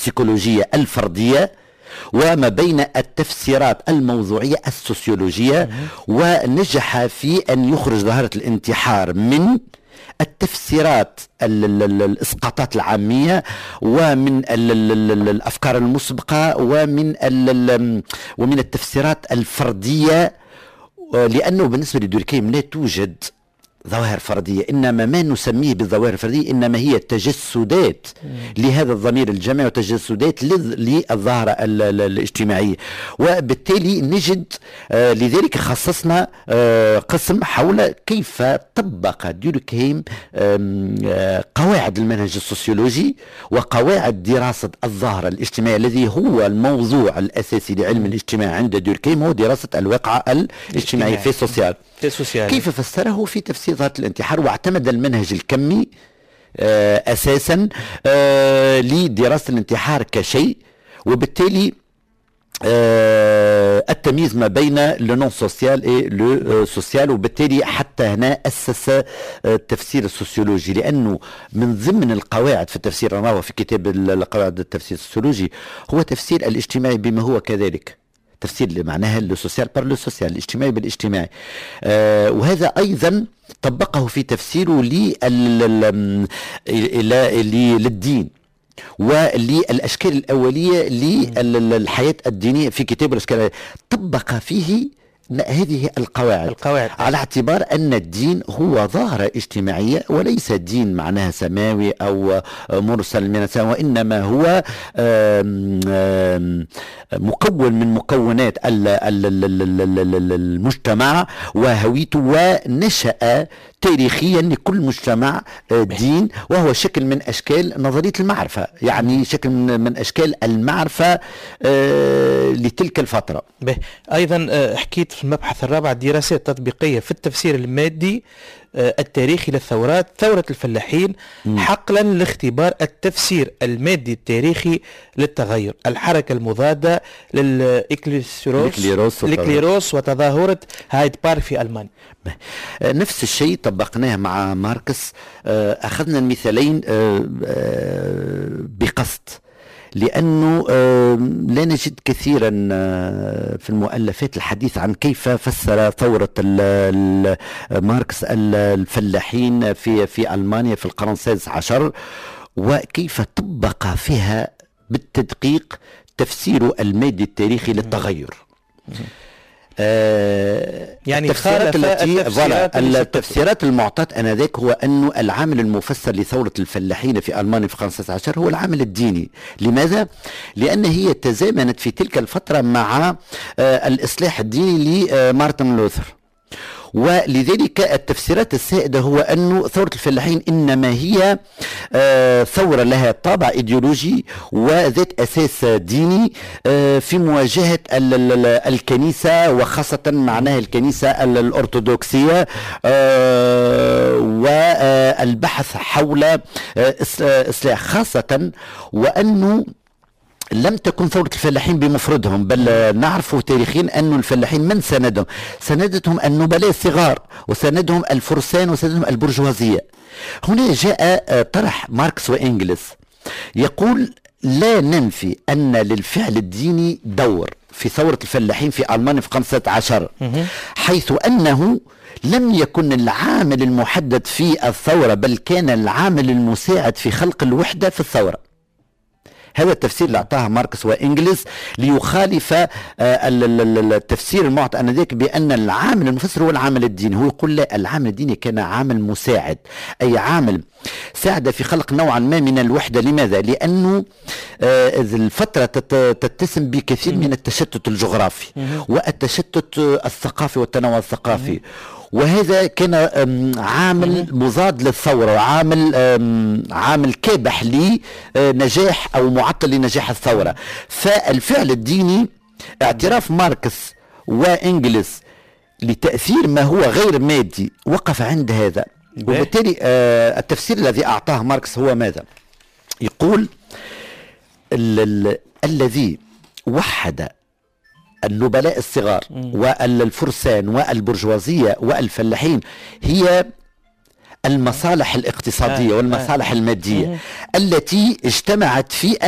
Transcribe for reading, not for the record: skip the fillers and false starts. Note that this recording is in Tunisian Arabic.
السيكولوجية الفردية وما بين التفسيرات الموضوعية السوسيولوجية، ونجح في أن يخرج ظاهرة الانتحار من التفسيرات الإسقاطات العامية ومن الأفكار المسبقة ومن التفسيرات الفردية، لأنه بالنسبة لدوركيم لا توجد ظواهر فردية، إنما ما نسميه بالظواهر الفردية إنما هي تجسدات لهذا الضمير الجمعي وتجسدات للظاهرة الاجتماعية. وبالتالي نجد لذلك خصصنا قسم حول كيف طبق دوركهيم قواعد المنهج السوسيولوجي وقواعد دراسة الظاهرة الاجتماعية، الذي هو الموضوع الأساسي لعلم الاجتماع عند دوركهيم، هو دراسة الواقعة الاجتماعية fait social. fait social. كيف فسره في تفسير ظاهرة الانتحار، واعتمد المنهج الكمي أساسا لدراسة الانتحار كشيء، وبالتالي التمييز ما بين le non social et le social. وبالتالي حتى هنا اسس التفسير السوسيولوجي، لانه من ضمن القواعد في التفسير نراه في كتاب القواعد التفسير السوسيولوجي هو تفسير الاجتماعي بما هو كذلك، تفسير اللي معناها le social par le social، الاجتماعي بالاجتماعي. وهذا ايضا طبقه في تفسيره للدين وللاشكال الاولية للحياة الدينية في كتاب الاشكال، طبق فيه هذه القواعد، القواعد على اعتبار أن الدين هو ظاهرة اجتماعية وليس دين معناها سماوي أو مرسل من السماء، وإنما هو آم آم مكون من مكونات المجتمع وهويته، ونشأ تاريخيا لكل مجتمع دين، وهو شكل من أشكال نظرية المعرفة، يعني شكل من أشكال المعرفة لتلك الفترة. به. أيضا حكيت في المبحث الرابع دراسات تطبيقية في التفسير المادي التاريخي للثورات، ثورة الفلاحين حقلا لاختبار التفسير المادي التاريخي للتغير، الحركة المضادة للإكليروس الإكليروس وتظاهرة هايد بارك في ألمانيا. نفس الشيء طبقناه مع ماركس. أخذنا المثالين بقصد، لأنه لا نجد كثيرا في المؤلفات الحديث عن كيف فسر ثورة ماركس الفلاحين في ألمانيا في القرن السادس عشر، وكيف طبق فيها بالتدقيق تفسير المادي التاريخي للتغير. يعني التفسيرات التي التفسيرات المعطاة انذاك هو أن العامل المفسر لثورة الفلاحين في ألمانيا في القرن السادس عشر هو العامل الديني. لماذا؟ لأن هي تزامنت في تلك الفترة مع الإصلاح الديني لمارتن لوثر، ولذلك التفسيرات السائدة هو أن ثورة الفلاحين إنما هي ثورة لها طابع إيديولوجي وذات أساس ديني في مواجهة الكنيسة، وخاصة معناها الكنيسة الأرثوذكسية، والبحث حول إصلاح، خاصة وأنه لم تكن ثورة الفلاحين بمفردهم، بل نعرف تاريخيا أن الفلاحين من ساندهم؟ ساندتهم النبلاء الصغار، وساندهم الفرسان، وساندهم البرجوازية. هنا جاء طرح ماركس وإنجلس يقول لا ننفي أن للفعل الديني دور في ثورة الفلاحين في ألمانيا في 15، حيث أنه لم يكن العامل المحدد في الثورة، بل كان العامل المساعد في خلق الوحدة في الثورة. هذا التفسير اللي أعطاه ماركس وإنجلز ليخالف التفسير المعطى آنذاك بأن العامل المفسر هو العامل الديني. هو يقول لا، العامل الديني كان عامل مساعد، أي عامل ساعد في خلق نوعا ما من الوحدة. لماذا؟ لأنه الفترة تتسم بكثير من التشتت الجغرافي والتشتت الثقافي والتنوع الثقافي، وهذا كان عامل مضاد للثورة، وعامل عامل كابح لنجاح أو معطل لنجاح الثورة. فالفعل الديني اعتراف ماركس وإنجلس لتأثير ما هو غير مادي وقف عند هذا. وبالتالي التفسير الذي أعطاه ماركس هو ماذا؟ يقول الذي وحد النبلاء الصغار والفرسان والبرجوازية والفلاحين هي المصالح الاقتصادية والمصالح المادية التي اجتمعت في أن